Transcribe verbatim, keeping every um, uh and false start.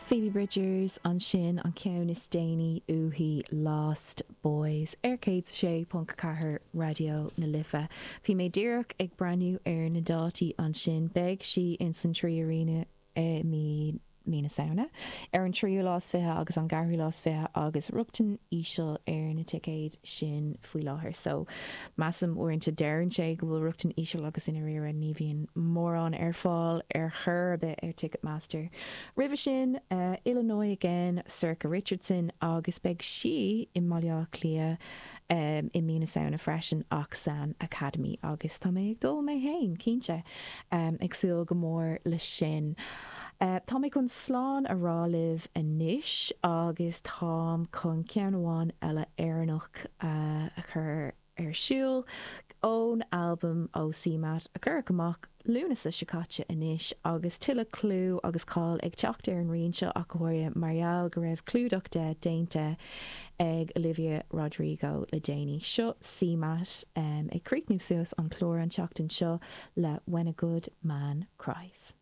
Phoebe Bridgers ansin, an ceann is déanaí uaithi, Lost Boys, ar céad sé ponc ceathair Raidió na Life. Bhí mé díreach ag breathnú ar na dátaí ansin. Beidh sí ins an Three Arena i mí mí na Samhna, ar an tríú lá is fiche agus an ceathrú lá is fiche, agus rochtain íseal ar na ticéid sin faoi láthair. So measaim uaireanta deireann sé go bhfuil rochtain íseal agus i ndáiríre ní bhíonn mórán ar fáil ar chor ar bith ar Ticketmaster. Roimhe sin, Illinois Again, Sorcha Richardson, agus beidh sí i mBaile Átha Cliath i mí na Samhna freisin ach san Academy, agus tá mé ag dul mé féin, cinnte, ag súil go mór le sin. Tá mé chun slán a rá libh anois agus táim chun ceann amháin eile Éireannach a chur ar siúl ón albam ó CMAT a cuireadh amach Lúnasa seo caite anois, agus tuilleadh clú agus cáil ag teacht ar an rian seo, ach go háirithe mar gheall go raibh clúdach de déanta ag Olivia Rodrigo le déanaí. Seo CMAT ag críochnú suas an clár an tseachtain seo le When a Good Man Cries.